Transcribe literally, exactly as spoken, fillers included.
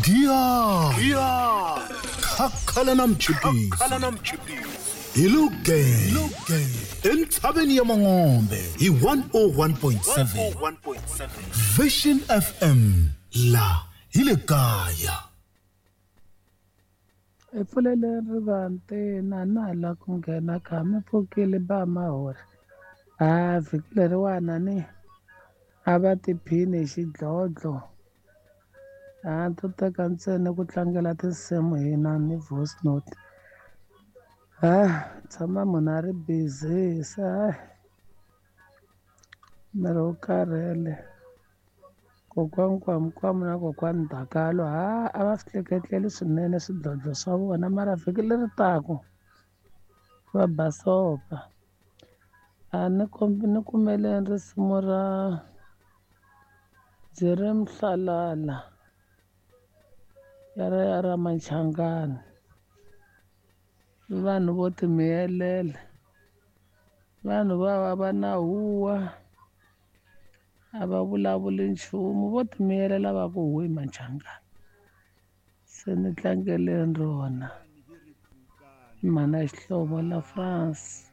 Giya Khakhala na mchipisi hi Lugenge entshaveni ya Mangombe hi one oh one point seven Vision F M la hi le kaya. Hi pfulele rivanti na na la ku nghena kha mi pfukile ba mahori. A vhiki leriwana ni a va tiphini hi xidlodlo. A to teka ntsena ku tlangela tinsimu hina ni voice note. Ah, tshama munhu a ri busy se hayi miri wu karhele. Kokwani Kwamukwamu na kokwani Dakalo ha a va swi hleketleli swinene swidlodlo swa vona mara vhiki leri taka va basopa. A ni kombi ni kumele risimu ra ndzi ri Mhlalala ya ra ya ra Machangani. Vanhu vo timiyelela, vanhu va va na huwa, a va vulavuli nchumu, vo timiyelela va ku huwi Machangani. Se ni tlangeleni rona mhana Xihlovo la France.